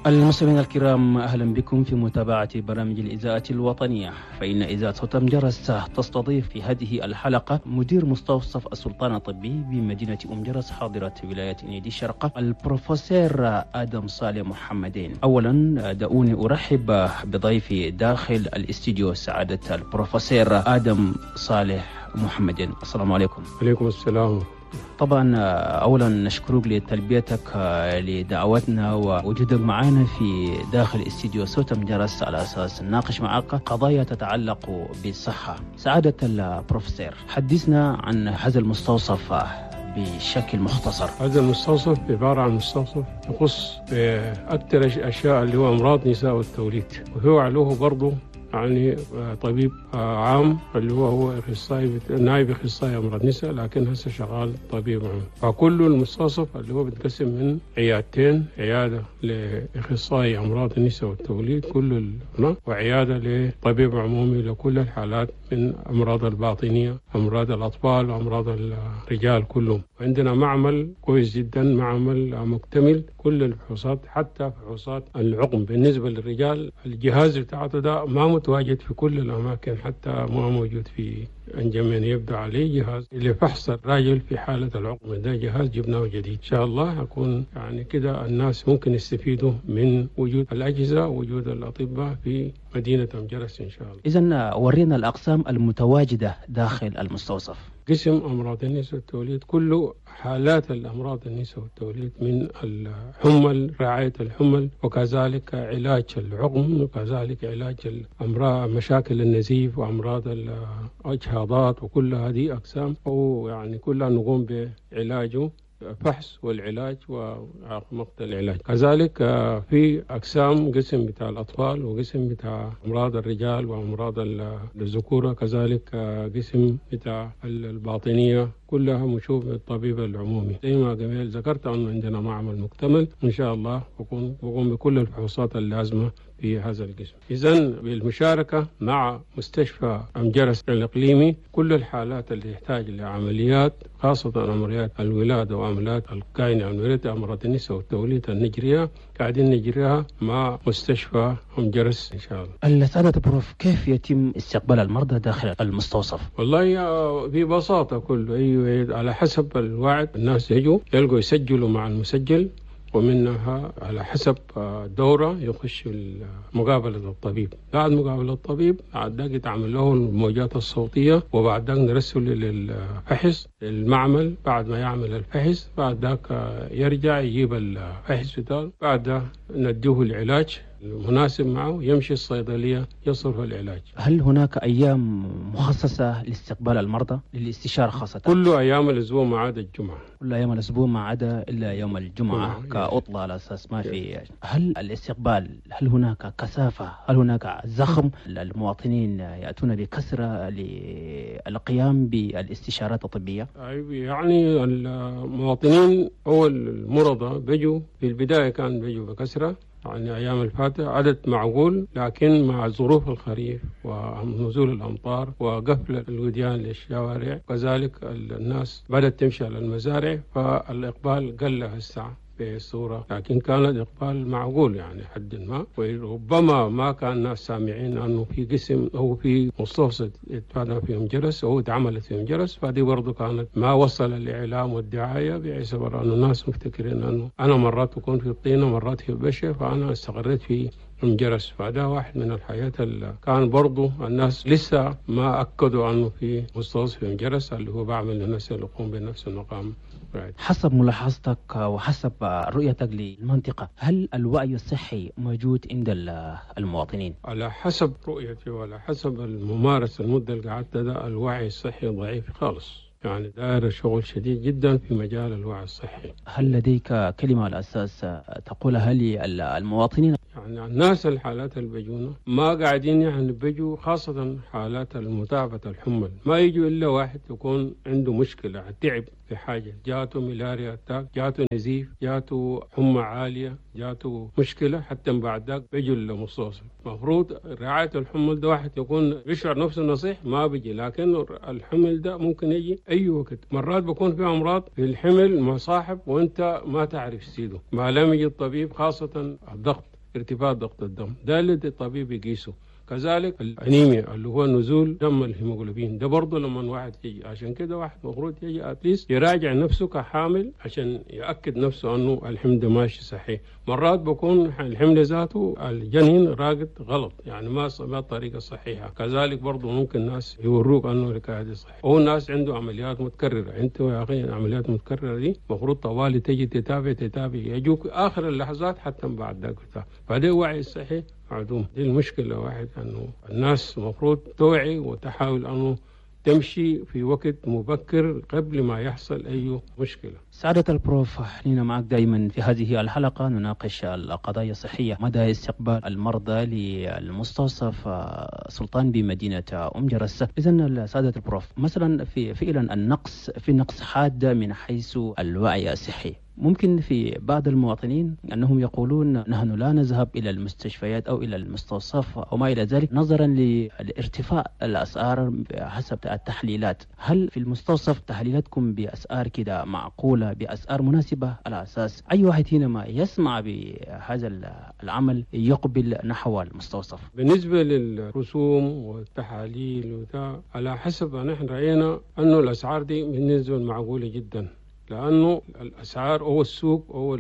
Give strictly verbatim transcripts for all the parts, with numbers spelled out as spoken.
المستمعين الكرام، أهلا بكم في متابعة برامج الإذاعة الوطنية. فإن إذاعة صوت أم جرس تستضيف في هذه الحلقة مدير مستوصف السلطان الطبي بمدينة أم جرس حاضرة ولاية إنيدي الشرق، البروفيسور آدم صالح محمدين. أولا دعوني أرحب بضيفي داخل الاستديو، سعادة البروفيسور آدم صالح محمدين. السلام عليكم. عليكم السلام. طبعا اولا نشكرك لتلبيتك لدعوتنا ووجودك معنا في داخل استديو صوت أم جرس على اساس نناقش معك قضايا تتعلق بالصحه. سعاده البروفيسور، حدثنا عن هذا المستوصف بشكل مختصر. هذا المستوصف عبارة عن مستوصف يخص أكثر أشياء اللي هو أمراض نساء والتوليد، وهو عليه برضه يعني طبيب عام اللي هو هو اخصائي، نائب اخصائي امراض نساء، لكن هسه شغال طبيب عام. فكل المستوصف اللي هو بيتقسم من عيادتين، عياده لاخصائي امراض النساء والتوليد كل ال... وعياده لطبيب عمومي لكل الحالات من امراض الباطنيه، امراض الاطفال وامراض الرجال كلهم. وعندنا معمل كويس جدا، معمل مكتمل كل الفحوصات، حتى فحوصات العقم بالنسبه للرجال. الجهاز بتاعته ده ما متواجد في كل الأماكن، حتى ما موجود في أنجمين يبدو عليه جهاز لفحص الراجل في حالة العقم. ده جهاز جبناه جديد، إن شاء الله أكون يعني كده الناس ممكن يستفيدوا من وجود الأجهزة ووجود الأطباء في مدينة أم جرس إن شاء الله. إذن ورينا الأقسام المتواجدة داخل المستوصف. قسم أمراض النساء والتوليد، كل حالات الأمراض النساء والتوليد من الحمل، رعاية الحمل، وكذلك علاج العقم، وكذلك علاج الأمراض مشاكل النزيف وأمراض الإجهاضات، وكل هذه أقسام أو يعني كلها نقوم بعلاجه، فحص والعلاج ومقت العلاج. كذلك في أقسام، قسم بتاع الأطفال وقسم بتاع أمراض الرجال وأمراض الذكورة، كذلك قسم بتاع الباطنية، كلها مشوف الطبيب العمومي. زي ما قبل ذكرت أنه عندنا معمل مكتمل إن شاء الله بقوم بقوم بكل الفحوصات اللازمة في هذا القسم. إذن بالمشاركة مع مستشفى أم جرس الإقليمي كل الحالات اللي تحتاج لعمليات، خاصة عمليات الولادة وعمليات الكائنة، عمليات أمراض النساء والتوليد النجرية، قاعدين نجريها مع مستشفى أم جرس إن شاء الله. السادة بروف، كيف يتم استقبال المرضى داخل المستوصف؟ والله ببساطة كله أيوة على حسب الوعد، الناس يجوا يلقوا يسجلوا مع المسجل، ومنها على حسب دورة يخش مقابلة الطبيب. بعد مقابلة الطبيب بعد ذاك يتعمل له الموجات الصوتية، وبعد ذاك نرسل للفحص للمعمل. بعد ما يعمل الفحص بعد ذاك يرجع يجيب الفحص بتاعه، بعد ذاك نديه العلاج المناسب معه، يمشي الصيدلية يصرف العلاج. هل هناك أيام مخصصة لاستقبال المرضى للاستشارة خاصة؟ كل أيام الأسبوع ما عدا الجمعة. كل أيام الأسبوع ما عدا إلا يوم الجمعة كعطلة على أساس ما في. هل الاستقبال، هل هناك كثافة؟ هل هناك زخم؟ المواطنين يأتون بكثرة للقيام بالاستشارات الطبية؟ يعني المواطنين أو المرضى بيجوا في البداية كان بيجوا بكثرة، يعني أيام الفاتحة عدد معقول، لكن مع ظروف الخريف ونزول الأمطار وقفل الوديان للشوارع، كذلك الناس بدأت تمشي على المزارع، فالإقبال قل هسه بصورة، لكن كان الإقبال معقول يعني حد ما. وربما ما كان الناس سامعين أنه في قسم أو في مستوصف اتفادى فيهم جرس أو اتعملت فيهم جرس، فدي برضو كانت ما وصل الإعلام والدعاية، باعتبار أنه الناس مفتكرين أنه أنا مرات أكون في الطينة مرات في البشة، فأنا استقريت في أم جرس. فده واحد من الحياة اللي كان برضو الناس لسه ما أكدوا أنه في مستوصف أم جرس اللي هو بعمل للناس اللي يقوم بنفس المقام. حسب ملاحظتك وحسب رؤيتك للمنطقة، هل الوعي الصحي موجود عند المواطنين؟ على حسب رؤيتي وعلى حسب الممارسة المدة اللي قعدت ده، الوعي الصحي ضعيف خالص، يعني دائرة شغل شديد جدا في مجال الوعي الصحي. هل لديك كلمة على أساس تقولها للمواطنين؟ يعني الناس الحالات اللي بيجونا ما قاعدين يعني بيجوا، خاصة حالات المتابعة الحمل ما يجوا إلا واحد يكون عنده مشكلة، تعب في حاجة، جاته ملاريا attack، جاته نزيف، جاته حمى عالية، جاته مشكلة، حتى بعد ذاك بيجوا للمستوصف. مفروض رعاية الحمل ده واحد يكون بيشعر نفسه نصيح ما بيجي، لكن الحمل ده ممكن يجي أي وقت. مرات بيكون في أمراض في الحمل مصاحب وأنت ما تعرف سيده، ما لم يجي الطبيب، خاصة الضغط، ارتفاع ضغط الدم ده اللي الطبيب يقيسه. كذلك الانيميا اللي هو نزول دم الهيموغلوبين ده برضه لما واحد يجي، عشان كده واحد المفروض يجي at least يراجع نفسه كحامل عشان ياكد نفسه انه الحمل ماشي صحيح. مرات بكون الحمل ذاته الجنين راقد غلط، يعني ما ما الطريقة الصحيحة. كذلك برضه ممكن ناس يوروك انه الحكاية دي صحيح، او ناس عنده عمليات متكررة. انت يا اخي العمليات المتكررة دي المفروض طوالي تجي تتابع تتابع يجوك اخر اللحظات حتى بعد ذاك بتاع. فده وعي الصحي معدوم. دي المشكلة واحد، أنه الناس المفروض توعي وتحاول أنه تمشي في وقت مبكر قبل ما يحصل أي مشكلة. سعادة البروف، حنينا معك دائما في هذه الحلقة نناقش القضايا الصحية، مدى استقبال المرضى للمستوصف سلطان بمدينة أم جرس. إذن سعادة البروف، مثلا في فعلا النقص، في نقص حاد من حيث الوعي الصحي، ممكن في بعض المواطنين أنهم يقولون نحن لا نذهب إلى المستشفيات أو إلى المستوصف أو ما إلى ذلك نظرا لارتفاع الأسعار حسب التحليلات. هل في المستوصف تحليلاتكم بأسعار كده معقولة، بأسعار مناسبة، على أساس أي واحد هنا ما يسمع بهذا العمل يقبل نحو المستوصف؟ بالنسبة للرسوم والتحاليل وده على حسب نحن رأينا أنه الأسعار دي بالنسبة معقولة جدا، لأنه الأسعار أو السوق أو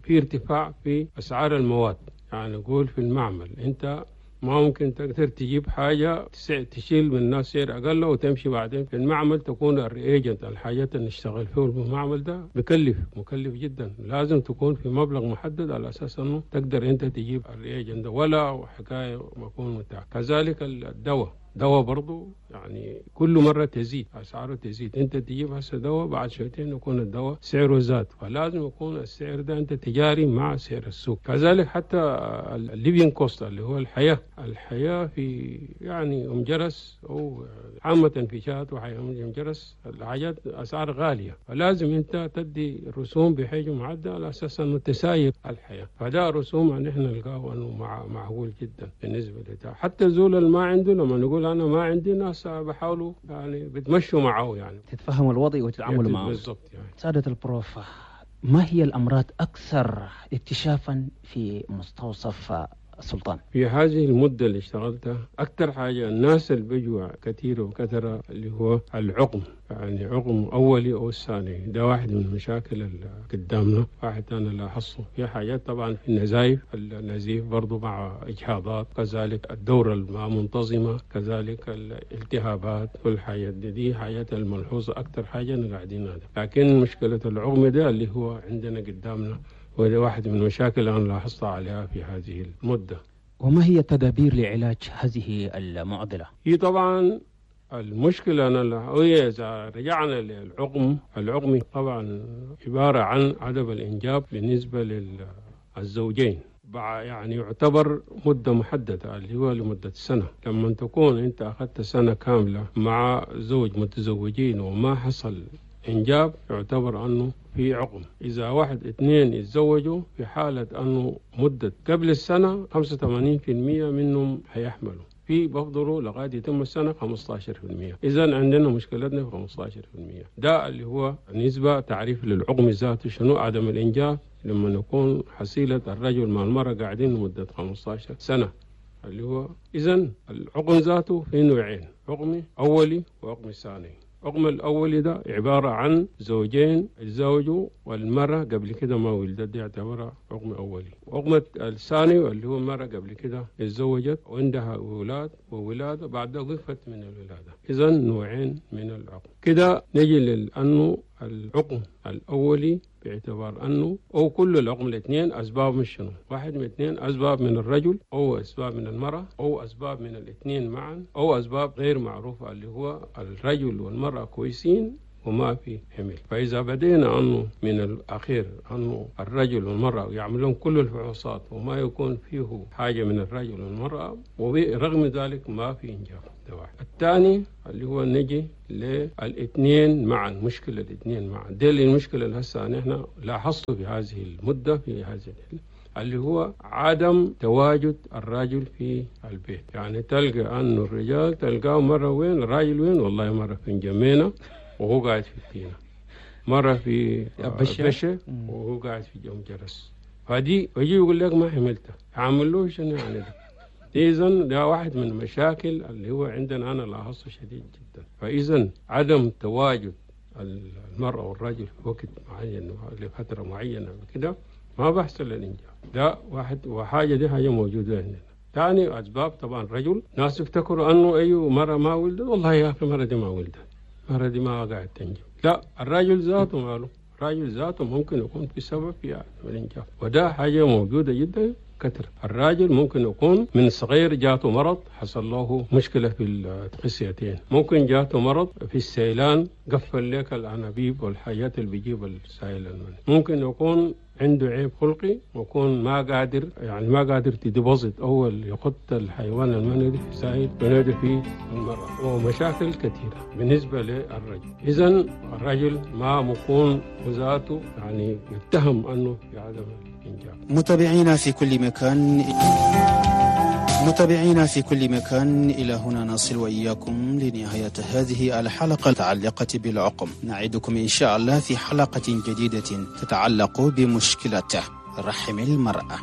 في ارتفاع في أسعار المواد. يعني نقول في المعمل أنت ما ممكن تقدر تجيب حاجة تشيل من الناس سعر أقل وتمشي بعدين في المعمل تكون ال reagent، الحاجات اللي نشتغل فيه المعمل ده بكلف مكلف جدا، لازم تكون في مبلغ محدد على أساس أنه تقدر أنت تجيب ال reagent ده، ولا حكاية مكون متاع. كذلك الدواء، دواء برضو يعني كل مرة تزيد أسعاره تزيد، أنت تجيب هسه دواء بعد شويتين يكون الدواء سعره زاد، فلازم يكون السعر ده أنت تجاري مع سعر السوق. كذلك حتى ال living cost اللي هو الحياة، الحياة في يعني أم جرس أو عامة في شات وحي أم جرس الحاجات أسعار غالية، فلازم أنت تدي رسوم بحجم معدل على أساس أنه تساير الحياة. فده رسوم أن إحنا نلقاه أنه مع معقول جدا بالنسبة لده. حتى زول اللي ما عنده لما نقول أنا ما عندي، ناس بحاولوا يعني بتمشوا معه، يعني تتفهموا الوضع وتتعاملوا معه بالضبط. يعني سعادة البروف، ما هي الأمراض أكثر اكتشافا في مستوصف السلطان؟ في هذه المدة اللي اشتغلتها أكثر حاجة الناس اللي بيجوا كثير وكثرة اللي هو العقم، يعني عقم أولي أو الثاني، ده واحد من المشاكل اللي قدامنا. واحد أنا لاحظته في حاجات طبعا في النزايف، النزيف برضو مع إجهاضات، كذلك الدورة الما منتظمة، كذلك الالتهابات والحاجات دي، دي حاجات الملحوظة أكثر حاجة أنا قاعدين هذا. لكن مشكلة العقم ده اللي هو عندنا قدامنا، وهذا واحد من المشاكل اللي أنا لاحظتها عليها في هذه المدة. وما هي التدابير لعلاج هذه المعضلة؟ هي طبعا المشكلة أنا هي إذا رجعنا للعقم، العقم طبعا عبارة عن عدم الإنجاب بالنسبة للزوجين، يعني يعتبر مدة محددة اللي هو لمدة سنة. لما تكون أنت أخذت سنة كاملة مع زوج متزوجين وما حصل إنجاب يعتبر أنه في عقم. إذا واحد اثنين يتزوجوا في حالة أنه مدة قبل السنة خمسة وثمانين بالمئة منهم هيحملوا، في بفضلوا لغاية يتم السنة خمسة عشر بالمئة. إذن عندنا مشكلتنا في خمسة عشر بالمئة، ده اللي هو نسبة تعريف للعقم ذاته شنو عدم الإنجاب لما نكون حصيلة الرجل مع المرأة قاعدين لمدة خمسة عشر سنة اللي هو إذن العقم ذاته في نوعين، عقم أولي وعقم ثاني. العقم الأولي ده عبارة عن زوجين اتزوجوا والمرأة قبل كده ما ولدت، دي يعتبرها عقم أولي. وعقم الثاني اللي هو المرأة قبل كده اتزوجت وعندها أولاد وولادة بعد وقفت من الولادة. إذن نوعين من العقم. كده نجي لأنه العقم الأولي باعتبار أنه أو كل العقم الاثنين أسباب من شنو؟ واحد من اثنين، أسباب من الرجل أو أسباب من المرأة أو أسباب من الاثنين معا أو أسباب غير معروفة اللي هو الرجل والمرأة كويسين وما في حمل. فإذا بدينا أنه من الأخير أنه الرجل والمرأة يعملون كل الفحوصات وما يكون فيه حاجة من الرجل والمرأة، ورغم ذلك ما في إنجاب. ده واحد. الثاني اللي هو نجي للاثنين معا، مشكلة الاثنين معا، دي المشكلة اللي هسه نحن لاحظته في هذه المدة في هذه اللي هو عدم تواجد الرجل في البيت. يعني تلقى أنه الرجال تلقاه مرة وين، الراجل وين، والله مرة في جمينة وهو قاعد في التينة، مرة في بشة وهو قاعد في أم جرس. فدي ويجي يقول لك ما حملته، عامل له شنو يعني ده؟ إذن ده واحد من المشاكل اللي هو عندنا أنا لاحظته شديد جدا. فإذن عدم تواجد المرأة والرجل في وقت معين لفترة معينة كده ما بحصل الإنجاب. ده واحد، وحاجة دي حاجة موجودة عندنا. ثاني أسباب طبعا رجل، ناس يفتكروا أنه أيوه مرة ما ولدت، والله يا أخي مرة دي ما ولدت، مرة دي ما قاعد تنجب. لا، الرجل ذاته ماله، الرجل ذاته ممكن يكون في سبب في عدم الإنجاب، وده حاجة موجودة جدا كثر. الراجل ممكن يكون من صغير جاته مرض، حصل له مشكلة في الخصيتين، ممكن جاته مرض في السيلان قفل لك الأنابيب والحاجات اللي بيجيب السائل المني، ممكن يكون عنده عيب خلقي ويكون ما قادر، يعني ما قادر تديبوزيت أول يخط الحيوان المنوي في سائل المنوي في المرأة، ومشاكل كثيرة بالنسبة للرجل. إذن الرجل ما مكون ذاته يعني يتهم أنه في عدم الإنجاب. متابعينا في كل مكان، متابعينا في كل مكان، إلى هنا نصل وإياكم لنهاية هذه الحلقة المتعلقة بالعقم. نعدكم إن شاء الله في حلقة جديدة تتعلق بمشكلة رحم المرأة.